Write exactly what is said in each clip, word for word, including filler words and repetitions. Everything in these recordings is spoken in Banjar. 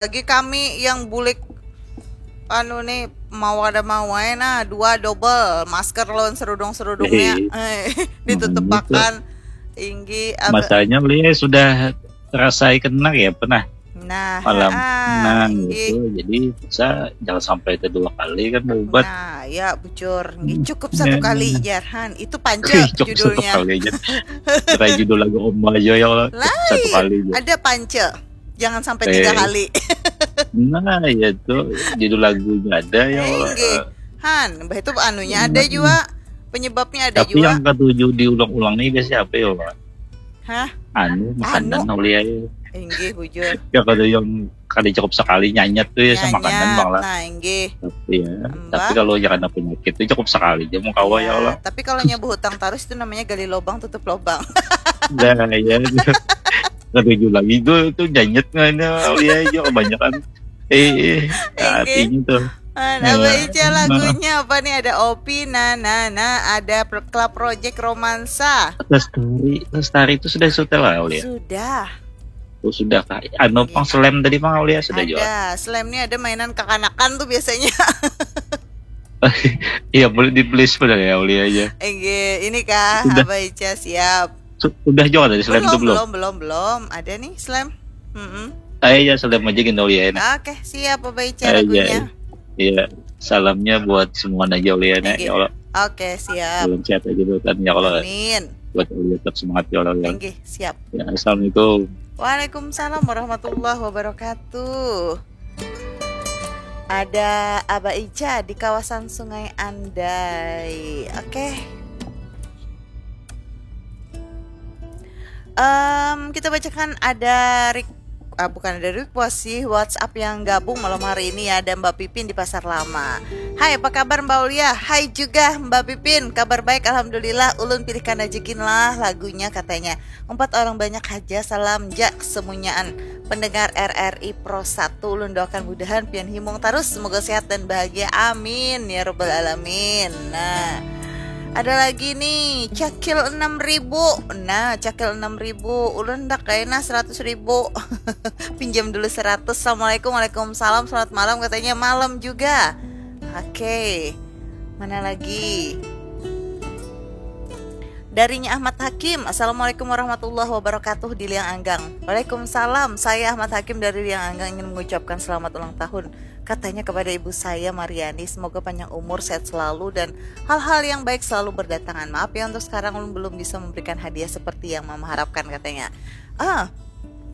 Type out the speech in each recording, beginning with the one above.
Lagi kami yang bulik anu nih, mau kada mau ai nah, dua double masker lawan serudung-serudungnya. Eh, ditutupakan. Inggi, apa? Masanya Lia sudah terasai kena ya, pernah? Nah, malam. Nah, itu jadi bisa jangan sampai itu dua kali kan berubat. Nah, ya bujur. Inggi, cukup satu kali, jarhan. Itu pance judulnya. Cukup satu kali aja. Kayak judul lagu Oma aja ya, cukup satu kali aja. Ada pance. Jangan sampai tiga kali. Nah, ya itu judul lagunya ada ya. Inggi. Han, bah itu anunya ada juga. Penyebabnya ada juga. Tapi yang ketujuh diulang-ulang nih biasanya apa ya, Pak? Hah? Anu, makanan Aulia ya. Inggih, bujur. Ya kada yang kada cukup sekali nyanyat tuh ya sama makanan, Bang lah. Nah, inggih. Tapi ya, tapi kalau yang ada penyakit tuh cukup sekali aja mau kawa ya Allah. Tapi kalau nyabu hutang terus itu namanya gali lubang tutup lubang. Nah, ya. Ketujuh lagi tuh tuh nyanyat ngana Aulia aja kebanyakan. Eh, artinya tuh. Nah, Abah Ica lagunya apa nih? Ada Opi, nah, nah, nah, ada Club Project Romansa. Lestari, Lestari itu sudah setel lah Aulia? Sudah. Oh, sudah kah? Anu pang slam tadi pang Aulia sudah juga. Ada, slam nih ada mainan kekanakan tuh biasanya. Iya, boleh di please benar ya Aulia aja. Oke, ini kah Abah Ica siap. Udah juga dari slam itu belum? Belum, belum, belum. Ada nih slam. Mm-mm. Ayo ya slam aja gini Aulia ya. Oke, siap Abah Ica lagunya. Iya, salamnya buat semua aja Aulia ya Allah. Oke, siap. Salam sehat aja buat kami ya Allah. Amin. Buat Aulia tetap semangat ya Allah ya. Inggih, siap. Ya, assalamualaikum. Waalaikumsalam warahmatullahi wabarakatuh. Ada Abah Ica di kawasan Sungai Andai. Oke. Em, kita bacakan ada rik- ah, bukan ada request sih, WhatsApp yang gabung malam hari ini ya, ada Mbak Pipin di Pasar Lama. Hai, apa kabar Mbak Aulia? Hai juga Mbak Pipin, kabar baik alhamdulillah. Ulun pilihkan aja gin lah lagunya katanya. Empat orang banyak haja, salam ja semunyaan pendengar R R I Pro satu. Ulun doakan mudahan pian himung terus, semoga sehat dan bahagia. Amin ya robbal alamin. Nah, ada lagi nih, cakil enam ribu. Nah, cakil enam ribu. Ulun ndak kena seratus ribu. Pinjam dulu seratus. Assalamualaikum, waalaikumsalam, selamat malam katanya. Malam juga. Oke. Mana lagi? Darinya Ahmad Hakim. Assalamualaikum warahmatullahi wabarakatuh di Liang Anggang. Waalaikumsalam. Saya Ahmad Hakim dari Liang Anggang ingin mengucapkan selamat ulang tahun katanya kepada ibu saya Mariani. Semoga panjang umur, sehat selalu dan hal-hal yang baik selalu berdatangan. Maaf ya untuk sekarang ulun belum bisa memberikan hadiah seperti yang mama harapkan katanya. Ah,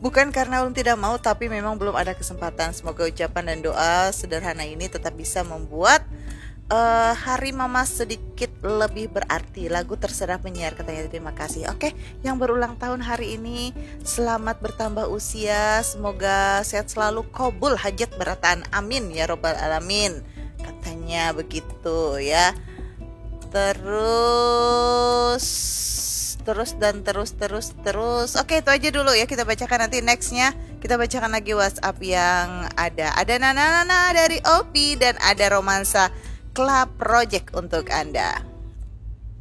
bukan karena ulun tidak mau, tapi memang belum ada kesempatan. Semoga ucapan dan doa sederhana ini tetap bisa membuat eh, hari mama sedikit lebih berarti. Lagu terserah penyiar katanya, terima kasih. Oke, yang berulang tahun hari ini selamat bertambah usia, semoga sehat selalu, kabul hajat barataan, amin ya robbal alamin. Katanya begitu ya. Terus terus dan terus terus terus. Oke, itu aja dulu ya, kita bacakan nanti nextnya. Kita bacakan lagi WhatsApp yang ada. Ada Nana Nana dari Opi dan ada Romansa Club Project untuk Anda.